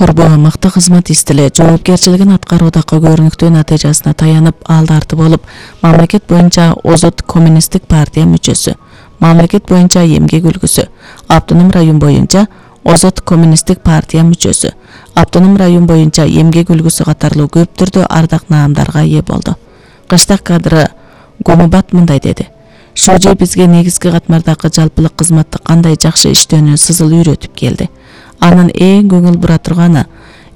Турбу мыкты кызмат истеле жоопкерчилигин аткаруудагы көрүнүктүү натыйжасына таянып алдарты болуп, мамлекет боюнча Озот коммунисттик партия мүчөсү, мамлекет боюнча эмгек үлгүсү, автоном район боюнча Озот коммунисттик партия мүчөсү, автоном район боюнча эмгек үлгүсү катарлуу көп түрдүү ардак наамдарга ээ болду. Кыштак кадры Гумубат мындай деди: Шожи бизге негизги катмардагы жалпылык кызматты кандай жакшы иштөөнү сызыл үйрөтүп келди. Анын эң көңүл бура турганы,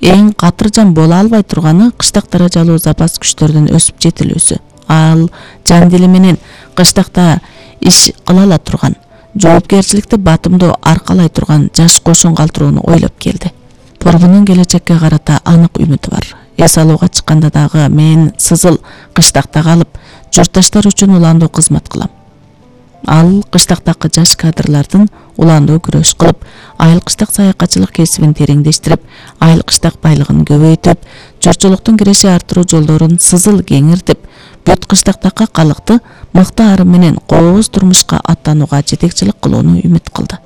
эң катыржан боло албай турганы кыштак даражалуу запас күчтөрдүн өсүп жетилүүсү. Ал жан дили менен кыштакта иш кыла ала турган, жоопкерчиликти батымдуу аркалай турган жаш кошун калтырууну ойлоп келди. Турбунун келечекке карата анык үмүтү бар. Эс алууга чыкканда дагы мен сызыл кыштакта калып, журтташтар үчүн уландуу кызмат кылам. Ал кыштактагы жаш кадрлардын уландуу күрөш кылып, айыл кыштак саякатчылык кесибин тереңдештирип, айыл кыштак байлыгын көбөйтүп, журтчулуктун киреше арттыруу жолдорун сызыл кеңиртип, бүт кыштактагы калыкты мыкты арым менен кооз турмушка аттанууга жетекчилик кылууну үмүт кылды.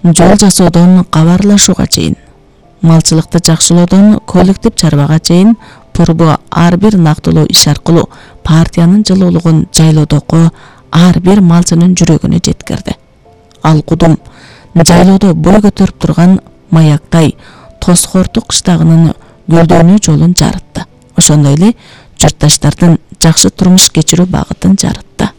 Жол жасоодон кабарлашууга чейин, малчылыкты жакшылоодон коллектив чарбага чейин Турбу ар бир нактылуу иш аркылуу партиянын жылуулугун жайлоодогу ар бир малчынын жүрөгүнө жеткирди. Ал кудум жайлоодо бой көтөрүп турган маяктай Тосхорту кыштагынын гүлдөнүү жолун жарытты. Ошондой эле журтташтардын жакшы турмуш кечирүү багытын жарытты.